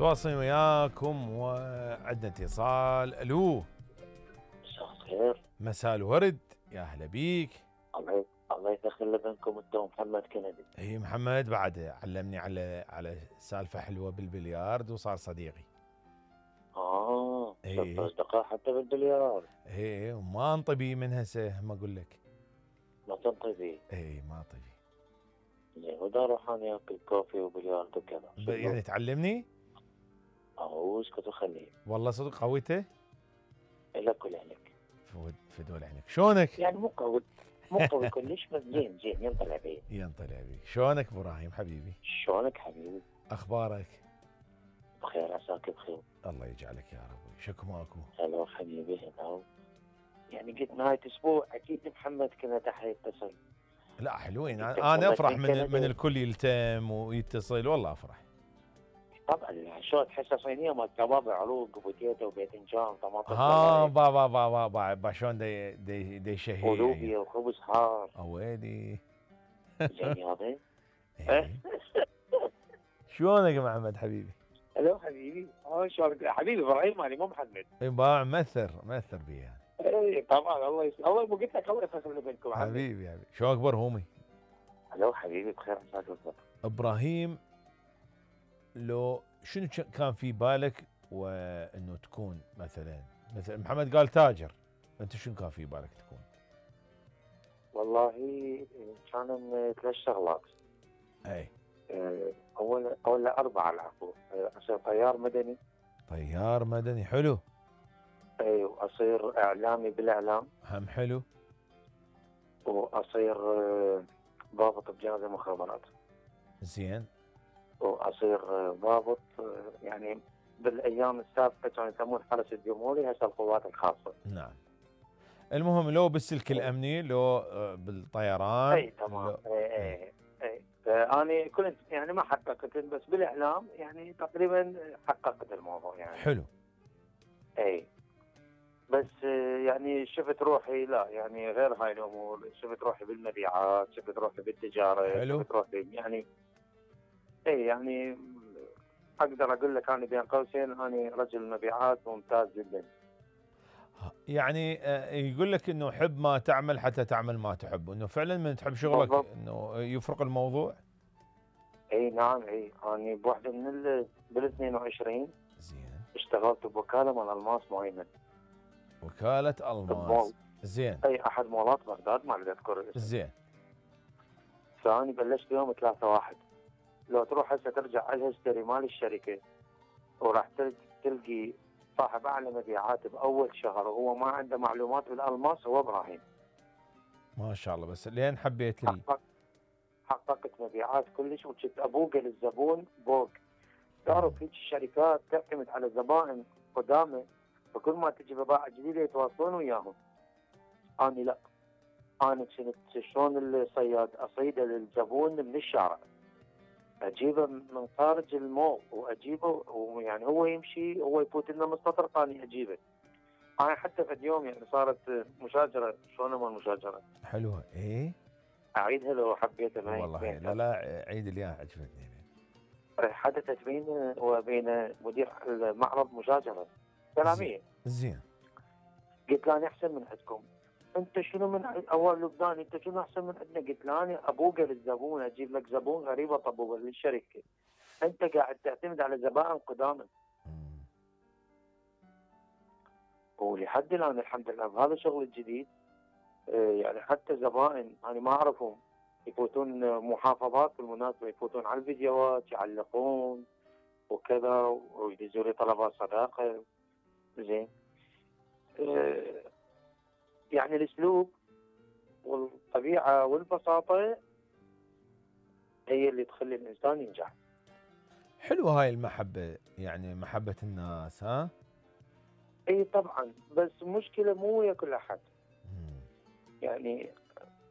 تواصل وياكم وعندنا اتصال. الو، مساء الخير. مساء الورد، يا اهلا بيك. الله يدخل بينكم انت ومحمد كندي. اي محمد بعد علمني على سالفه حلوه بالبليارد وصار صديقي. صرت اصدقاء حتى بالبليارد. اي وما انطبي من هسه ما اقول لك. ما تنطبي؟ اي ما انطبي. زين ودا اروح انا اكل كوفي وبليارد وكذا. يعني تعلمني؟ اسكت وخليه. والله صدق قويته؟ لك ولعلك. فدول عينك. شلونك؟ يعني مو قوي كلش بس زين ينطلع بيه. ينطلع بيك. شلونك ابراهيم حبيبي؟ شلونك حبيبي؟ اخبارك؟ بخير عساك بخير. الله يجعلك يا رب. شكو ماكو؟ هلا حبيبي هلا. يعني قلت نهاية اسبوع اكيد محمد كنا تحت يتصل. لا حلوين، انا افرح من الكل يلتم ويتصل، والله افرح. طبعا شو تحسه صينيه مال كباب عروق وبوتيتا وباذنجان طماطم. با شلون دي شهي ولوبيا وخبز حار. ويلي. زين يابا. شلونك يا محمد حبيبي؟ هلو حبيبي. شلونك حبيبي ابراهيم؟ مالي مو محمد. باع مثر بيها. اي طبعا. الله مو قلت لك الله يفصل بينكم حبيبي. شو اكبر همي؟ هلو حبيبي بخير عساك بالضبط. ابراهيم، لو شنو كان في بالك وانه تكون مثلا محمد قال تاجر، انت شنو كان في بالك تكون؟ والله كان 3 شغلات. اي اول 4 العفو. اصير طيار مدني. طيار مدني حلو. اي واصير اعلامي بالاعلام هم حلو. واصير ضابط بجهاز المخابرات. زين. واصير ضابط يعني بالايام السابقه كانوا يسمون حرس الجمهوري، هسه القوات الخاصه. نعم. المهم لو بالسلك الامني لو بالطيران. اي تمام. اي انا كنت يعني ما حققت بس بالاعلام يعني تقريبا حققت الموضوع يعني. حلو. اي بس يعني شفت روحي لا يعني غير هاي الامور، شفت روحي بالمبيعات، شفت روحي بالتجاره. حلو. شفت روحي يعني يعني اقدر اقول لك انا بين قوسين انا رجل مبيعات ممتاز جدا. يعني يقول لك انه حب ما تعمل حتى تعمل ما تحب، انه فعلا من تحب شغلك بالضبط. انه يفرق الموضوع. اي نعم. انا بوحده من بال 22 زين اشتغلت بوكاله مال الماس معينه. وكالة الماس. زين. اي احد مولات بغداد ما اذكر. زين. فاني بلشت يوم 3/1. لو تروح هسه ترجع على الهيستوري مال الشركه وراح تلقي صاحب اعلى مبيعات باول شهر وهو ما عنده معلومات بالالماس هو ابراهيم. ما شاء الله. بس لين حبيت حققت مبيعات كلش وكنت ابوق للزبون بوق. تعرف هيك الشركات تعتمد على زبائن قدامى، فكل ما تجي بضاعه جديده يتواصلون وياهم. انا لا، انا كنت شلون الصياد اصيده للزبون من الشارع، اجيبه من خارج المول واجيبه ويعني هو يمشي هو يفوت لنا مستطرق اني اجيبه. انا حتى في اليوم يعني صارت مشاجره. شلون مال مشاجره؟ حلوه. ايه اعيدها لو حبيتها معي. والله لا عيد اللي عجبتني. حدثت بيني وبين مدير المعرض مشاجره كلاميه. زين. قلت له انا احسن من عندكم. انت شنو من اول لبناني انت شنو احسن من عندنا؟ قلت له انا ابوقه للزبون، اجيب لك زبون غريب اطبقه للشركه. انت قاعد تعتمد على زبائن قدامى. ولحد الان الحمد لله بهذا الشغل الجديد يعني حتى زبائن انا ما اعرفهم يفوتون محافظات بالمناسبه، يفوتون على الفيديوهات يعلقون وكذا ويدزوا لي طلبات صداقه. زين. يعني الاسلوب والطبيعه والبساطه هي اللي تخلي الانسان ينجح. حلوه هاي المحبه، يعني محبه الناس. ها اي طبعا. بس مشكله مو ويا كل احد. يعني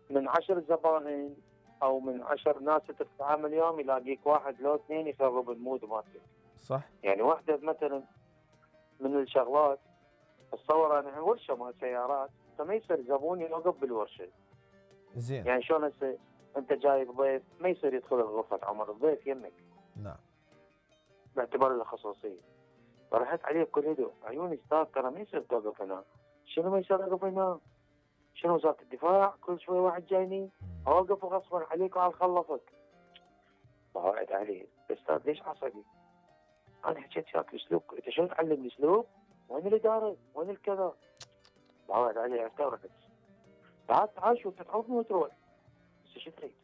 من 10 زبائن او من 10 ناس تتعامل يوم يلاقيك واحد لو 2 يخرب المود مالتك. صح. يعني واحده مثلا من الشغلات اتصور انا ورشه مال سيارات فما يصير زبون يوقف بالورشه. زين. يعني شلون هسه انت جايب ضيف ما يصير يدخل غرفه عمر الضيف يمك. نعم. باعتبار له خصوصيه. فرحت عليه بكل هدوء، عيوني استاذ ترى ما يصير توقف هنا. شنو ما يصير اوقف هنا؟ شنو وزاره الدفاع؟ كل شوي واحد جايني اوقف غصبا عليك وعلى خلصك. بعد عليه استاذ ليش عصبي؟ انا حكيت وياك اسلوب، انت شلون تعلمني اسلوب؟ وين الاداره؟ وين الكذا؟ بعد عليه استغربت. تعال شوف تتعوفني وتروح. بس شو تريد؟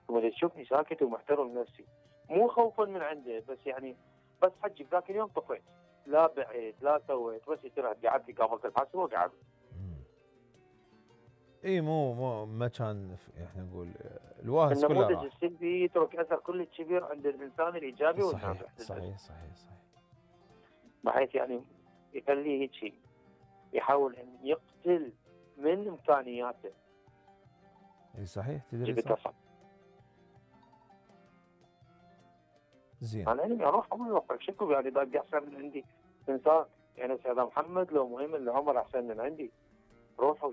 ولما تشوفني ساكت ومحترم نفسي، مو خوفا من عنده، بس يعني بس حجي ذاك اليوم طفيت، لا بعيد لا سويت، بس يصير قعدت لي قابلت الحاسب وقعد. اي مو ما كان احنا نقول الواهس كله النموذج راح. السلبي يترك اثر كلش كبير عند الانسان الايجابي والناجح. صحيح. بحيث يعني يخليه هيك يحاول ان يقتل من امكانياته. اي صحيح تدري صح. زين. انا يعني اروح اقول له شكو يعني باقي احسن من عندي انسان، يعني استاذ محمد لو مهم اللي عمر احسن من عندي، روحوا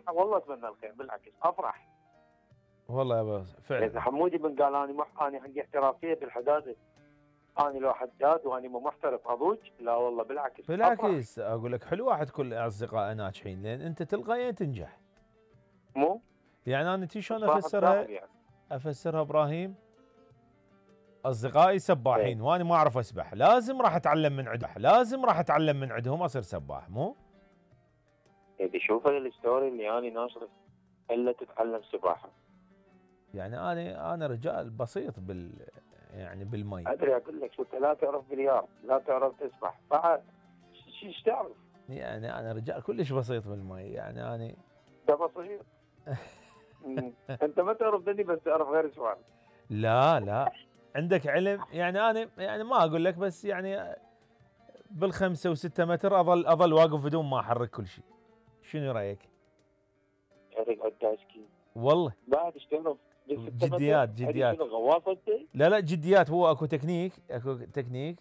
والله اتمنى الخير، بالعكس افرح. والله يا ابو فعلا. اذا حمودي بن قال انا عندي احترافيه بالحداده، انا لو حداد وانا مو محترف اضوج، لا والله بالعكس بالعكس اقول لك حلو واحد كل اصدقائه ناجحين، لان انت تلقائيا تنجح. مو يعني انا شلون افسرها؟ يعني. افسرها ابراهيم، اصدقائي سباحين وانا ما اعرف اسبح، لازم راح اتعلم من عندهم اصير سباح، مو؟ اذا شوف الستوري اللي انا ناشره الا تتعلم سباحه. يعني انا رجال بسيط يعني بالمي. ادري اقول لك شو، انت لا تعرف بليار، لا تعرف تسبح، بعد ايش تعرف؟ يعني انا رجال كلش بسيط بالمي، يعني انا ده بسيط. انت ما تعرف دني بس تعرف غير سؤال. لا عندك علم، يعني انا يعني ما اقول لك، بس يعني بالخمسة و6 متر اظل واقف بدون ما احرك كل شيء. شنو رايك؟ شارك عداسكي والله بعد ايش تعرف؟ جديات غواصه انت؟ لا جديات. هو اكو تكنيك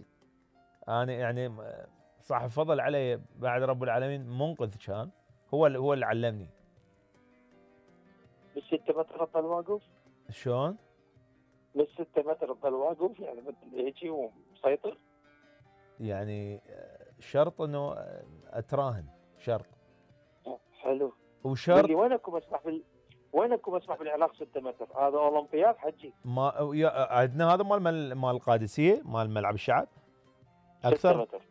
انا يعني صاحب فضل علي بعد رب العالمين، منقذ كان هو اللي علمني. بال6 متر تظل واقف؟ شلون؟ بال6 متر تظل واقف يعني هيك ومسيطر؟ يعني شرط انه اتراهن، شرط. حلو. وشرط وينكم اسمح بالعراق 6 متر؟ هذا اولمبياد حجي. ما عندنا هذا مال القادسيه، مال ملعب الشعب. 6 متر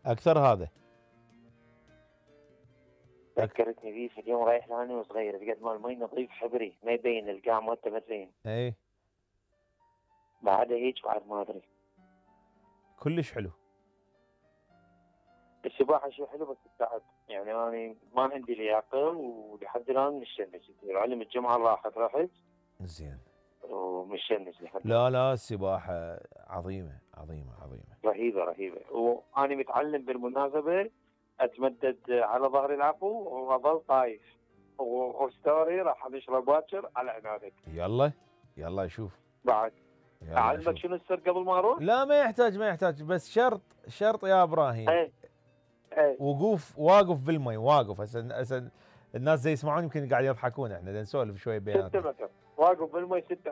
اكثر هذا. ذكرتني بيه في اليوم رايح لاني وصغير، بقد مال مي نظيف حبري ما يبين القاع مالته ما تبين. اي بعد هيك بعد ما ادري. كلش حلو. السباحه شيء حلو بس تتعب، يعني انا ما عندي لياقه ولحد الان مشنج. علم الجمعه رحت زين ومشنج لحد لا السباحه عظيمه. رهيبه. وانا متعلم بالمناسبه اتمدد على ظهر العفو واظل طايف، وستوري راح نشرب باكر على عنادك. يلا شوف بعد اعلمك شنو السر قبل ما اروح؟ لا ما يحتاج، بس شرط يا ابراهيم. اي واقف بالمي، هسه الناس زي يسمعون يمكن قاعد يضحكون، احنا نسولف شوي بيناتنا. 6 متر واقف بالمي 6